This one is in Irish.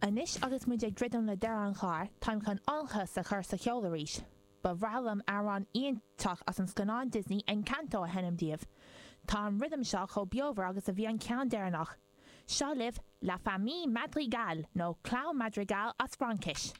Anois agus muid ag druidim le deireadh an chláir, táim chun ionchas a chur sa cheol arís. Ba bhreá liom amhrán iontach as an scannán Disney Encanto a sheinm daoibh. Tá an rithim seo chomh beomhar agus a bhí an ceann deireanach. Seo libh La Famille Madrigal nó Clann Madrigal as Fraincis.